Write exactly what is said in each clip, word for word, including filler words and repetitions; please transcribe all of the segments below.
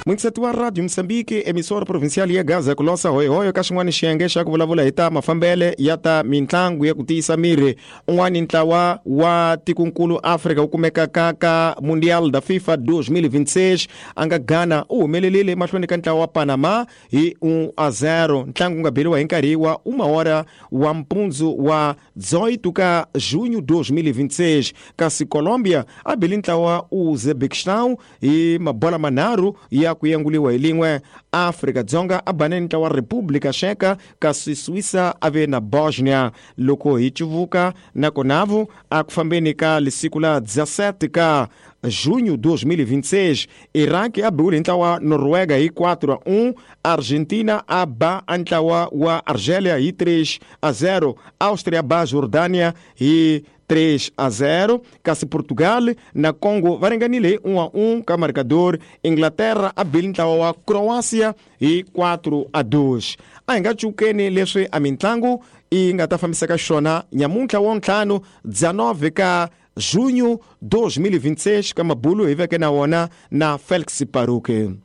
Muingiseti wa Radio Mozambique, emissora provincial ya Gaza ku losa hoyohoyo ka xin'wana xiyenge xa ku vulavula hi ta mafambele ya ta mintlangu ya ku tiyisa miri. Un'wana ntlawa wa tikunkulu Afrika wu kumeka ka ka Mundial da FIFA dois mil e vinte e seis a nga Ghana u humelerile mahlweni ka ntlawa wa Panama hi um a zero. Ntlangu wu nga beriwa hi nkarhi wa uma hora wa mpundzu wa dezoito ka junho dois mil e vinte e seis. Kasi Colombia a beli ntlawa Uzbekistan hi mabola manharhu ya ku yenguliwa hi lin'we. Afrika Dzonga a bane ntlawa wa República Checa, kasi Suíça a ve na Bosnia. Loko hi civuka na konavu a ku fambeni ka lisiku la dezessete ka junho dois mil e vinte e seis, Iraq a biwile hi ntlawa wa Noruega hi quatro a um, Argentina a ba a ntlawa wa Argélia hi três a zero, Áustria ba Jordânia hi três a zero, kasi Portugal na Congo va ringanile hi um a um ka marcador. Inglaterra a bile ntlawa wa Croácia hi quatro a dois. A hi nga cukeni leswi a mintlangu yi nga ta fambisaka xona nyamuntlha wa ntlhanu dezenove ka junho dois mil e vinte e seis ka mabulu hi veke na wona na Félix Paruque.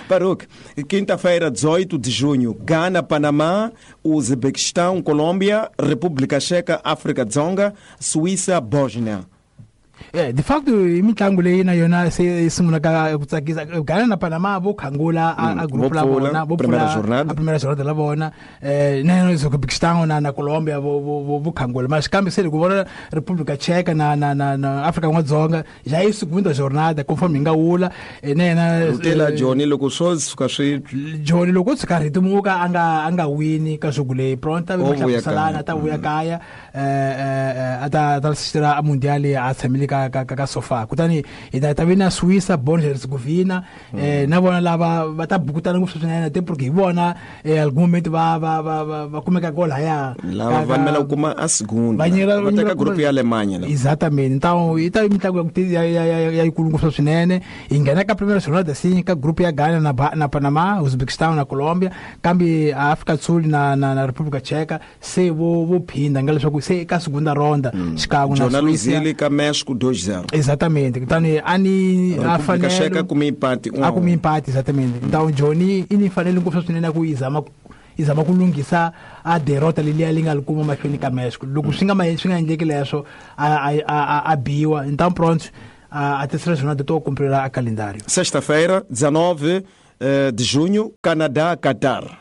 Paruque, quinta-feira, dezoito de junho, Ghana, Panamá, Uzbequistão, Colômbia, República Checa, África Dzonga, Suíça, Bósnia. É, de facto, mitlangu leyi na yona se yi sungula ka ku tsakisa. Ghana na Panama vo khangula a group la vona, vo primeira jornada, a primeira jornada la vona. Eh, na yona Uzbekistan na na Colombia vo vo vo khangula. Mas kambe se loko vona República Checa na na na, na África Dzonga já é segunda jornada conforme nga wula na yena Rutela Johnny loko swo suka swi Johnny loko tsika ritimuka anga anga wini ka jogo leyi pronta va hlamuselana ta vuya kaya eh ata ta assistira a mundial a tshamile ka ka ka sofa. Kutani hi ta ta vina Suíça, Bosnia Herzegovina, eh na vona lava va ta bukutana ngopfu swinene te porque hi vona eh algum momento va va va va kumeka goal haya lava va mela kuma a segunda va teka group ya Alemanha la. Exatamente. Então i ta mitlangu ya ya ya yikulu ngopfu swinene. Hi nghena ka primeira jornada sim ka group ya Ghana na na Panama, Uzbekistan na Colombia, kambe Afrika Sul na na, na República Checa se vo vo phinda nga leswaku se ka segunda ronda xikan'we na Suíça ka México dois zero. Exatamente. Então ani a República Checa com empate um. A com empate, exatamente. Então Johnny ini fanele ngopfu swinene ku izama izama ku lunghisa a derrota leliya li nga li kuma mahlweni ka México. Loko swi nga swi nga endleki leswo a a a biwa. Então pronto, a, a terceira jornada estou a cumprir a calendário. Sexta-feira, dezenove de junho, Canadá, Qatar.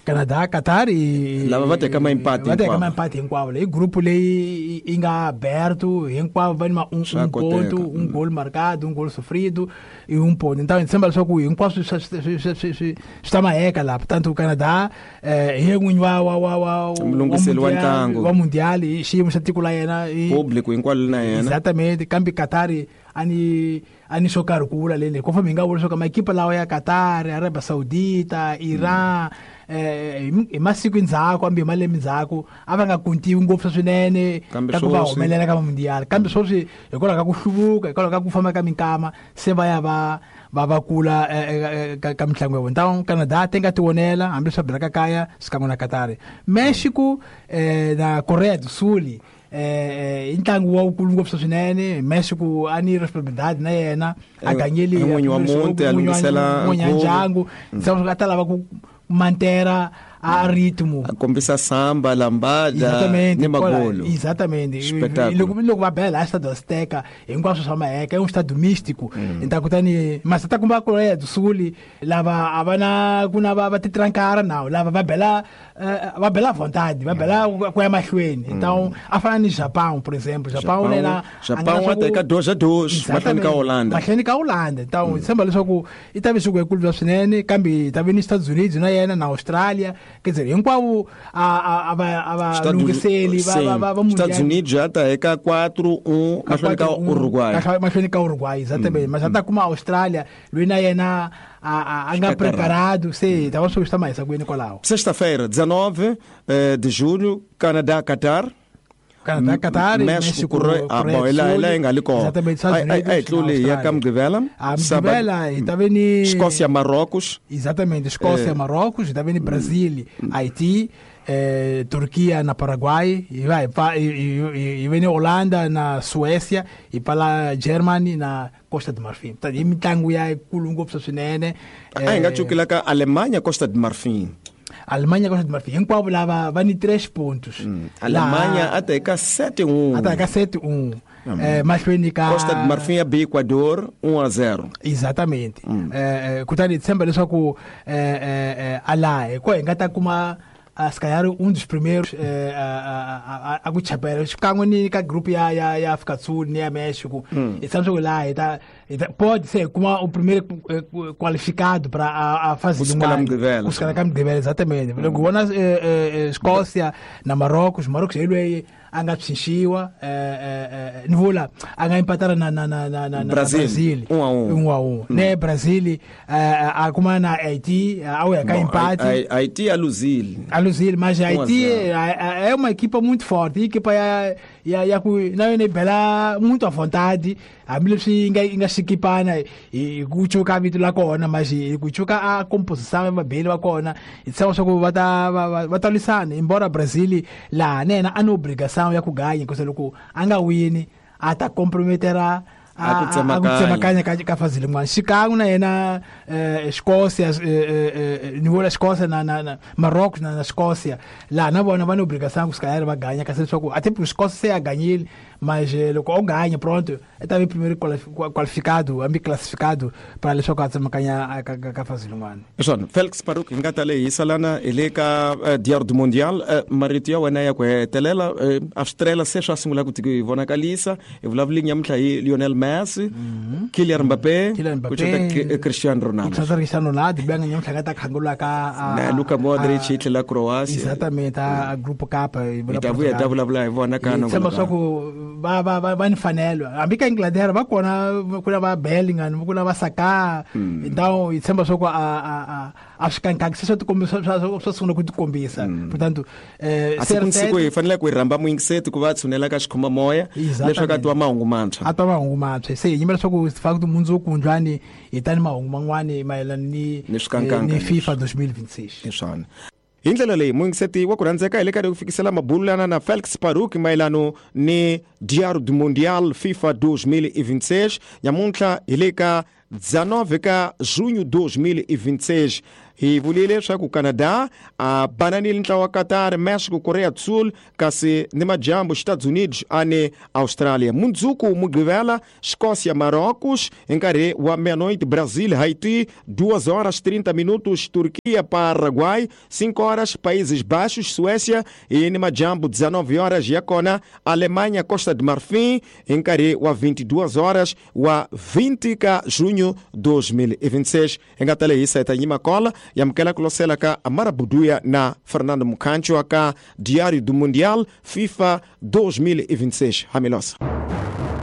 Canadá, Qatar e lava va teka empate va teka empate hinkwavo. Leyi grupo leyi yi nga aberto hinkwavo va ni um, um ponto, um gol marcado, um gol sofrido e um ponto. Então a gente sembra só que hinkwaswo swi swi swi ta maheka la. Portanto o Canadá eh hi n'winyi wa wa wa wa mulungiseli wa ntlangu wa mundial i xiyimo xa tiko la yena i público hinkwalo na yena. Exatamente. Kambe Qatar ani ani xo karhi ku vula lele conforme hi nga vula swo ka maekipa lawa ya Qatar, Arabia Saudita, Iran eh hi masiku endzhaku hambi hi malembe endzhaku a va nga kuntiwi ngopfu swinene ka ku va humelela ka mundial. Kambe sweswi hikwalaho ka ku hluvuka, hikwalaho ka ku famba ka minkama se va ya va va va kula ka mitlangu ya vona. Então Canadá tem que tionela hambi swa bela ka kaya xikan'we na Qatar. México eh, na Coreia do Sul eh ntlangu wa wukulu ngopfu swinene. México a ni responsabilidade na yena a ganyeli n'winyi wa muti a lunghisela ndyangu a ta lava ku mantera a ritmo a kombisa samba lambada ni magolo. Exatamente. Loko loko va bela a Estado Azteca hinkwaswo swa maheka i um estado místico. Então kutani mas ta kumba Coreia do Sul lava a va na ku na va va titrankara nawu lava va bela va bela vontade, va bela ku ya mahlweni. Então a fana ni Japão, por exemplo. Japão lela Japão wa teka dois a dois mahlweni ka Holanda. Mahlweni ka Holanda. Então tshemba leswaku i ta ve swi ku bya swinene kambe ta ve ni Estados Unidos na yena na Australia. Quer dizer, hinkwavo a a va a va lunghiseli va va va Estados Unidos já tá eka quatro um mahlweni ka Uruguay. Mahlweni ka Uruguay, exatamente. Mas ata kuma Austrália, loyi na yena a a nga preparado, sei, tava só está mais aguento kwalaho. Sexta-feira, dezenove de julho, Canadá, Qatar, Canadá, Qatar, México, ah, bom, ela ela em Galicó. Exatamente, Estados Unidos. Aí, aí, ia cá Mugibela. A Mugibela, e tá vendo Escócia, Marrocos. Exatamente, Escócia, eh. Marrocos, tá vendo Brasil, Haiti. Eh, Turquia na Paraguai e vai e, e, e vem Holanda na Suécia e para lá Germany na Costa do Marfim. Tá e mitangu ya kulungo psassinene. Ah, enga chukila ka Alemanha Costa do Marfim. Alemanha Costa do Marfim. Enquanto lá vai ni três pontos. Hum. Alemanha lá, até cá sete um. Até cá sete um. Hum. Eh, mas foi cá Costa do Marfim a Equador um a zero. Exatamente. Hum. Eh, kutani sempre só ku eh eh ala e ko engata kuma a se calhar um dos primeiros eh, a a a kuchapela xikan'we ni ka group ya ya ya África do Sul ni ya México hum. E sabe lá e tá, e tá, pode ser como o primeiro qualificado para a, a fase de uma os caras de exatamente logo mm. eh, eh, Escócia na Marrocos Marrocos ele anga tsinxiwa eh eh ni vula anga empatara na na na na na Brasil, Brasil um a um um a um né Brasil a kuma na Haiti ao é cá empate Haiti a Luzil a Luzil mas Haiti é uma equipa muito forte equipa ya ya ya ku na yone bela muito à vontade a milipsi inga inga xikipana e kuchuka vito la kona mas kuchuka a composição ya bele wa kona itsa swa ku va ta va ta lwisana embora Brasil la nena ana obrigação ya ku ganha ku loko a nga wini a ta comprometera a ku tsemakanya ka ka fase lin'wana xikan'we na yena Escócia ni vula Escócia na na Marrocos na na Escócia laha na vona va ni obrigação ku se calhar va ganha kasi leswaku até porque Escócia se a ganhile mas loko o ganha pronto e ta ve primeiro qualificado ambi classificado para leswaku a tsemakanya ka ka fase lin'wana. Swona Felix Paruk hi nga ta lehisa lana hi le ka Diário do Mundial marito ya wena ya ku hetelela Australia se swa sungula ku ti vonakalisa hi vulavuli nyamuntlha hi Lionel Messi, mm-hmm. Kylian Mbappé, Kylian Mbappé, Cristiano Ronaldo. Cristiano Ronaldo, bem nyamuntlha ka ta khangula ka na Luka Modric hi tlhela Croatia. Exatamente, a grupo K hi ta vuya hi ta vulavula hi vona ka no. Tshemba swa ku va va va va ni fanelo. Hambi ka Inglaterra va kona ku na va Bellingham, ku na va Saka. Então, hi tshemba swa ku a a a a swi kankangi se swa tikombisa swa sungula ku tikombisa. Portanto, eh siku siku hi fanele ku hi rhamba muyingiseti ku va tshunela ka xikhoma moya leswaku a twa mahungu mantshwa. A twa mahungu mantshwa. Se hi yimela swa ku fa ku mundzuku njhani hi tani mahungu man'wani mayelana ni ni FIFA twenty twenty-six. Hi swona. Hi ndlela leyi muyingiseti wa ku rhandzeka hi le karhi ku fikisela mabululana na Felix Paruk mayelano ni Diário do Mundial FIFA twenty twenty-six nyamuntlha hi le ka dezenove ka junho twenty twenty-six. Hi vulile leswaku Canada a bananile ntlawa wa Qatar, México, Coreia do Sul kasi ni majambu Estados Unidos ane Austrália. Mundzuku Mugibela, Escócia, Marrocos em nkarhi wa meia-noite, Brasil, Haiti, duas horas trinta minutos, Turquia, Paraguai, cinco horas, Países Baixos, Suécia e ni majambu dezenove horas, Iacona, Alemanha, Costa de Marfim, em nkarhi wa vinte e duas horas, wa vinte de junho dois mil e vinte e seis. Engatale isa itanyima kola yamkela kulosela ka Amara Buduya na Fernando Mukancho ka Diário do Mundial FIFA twenty twenty-six. Hamilosa.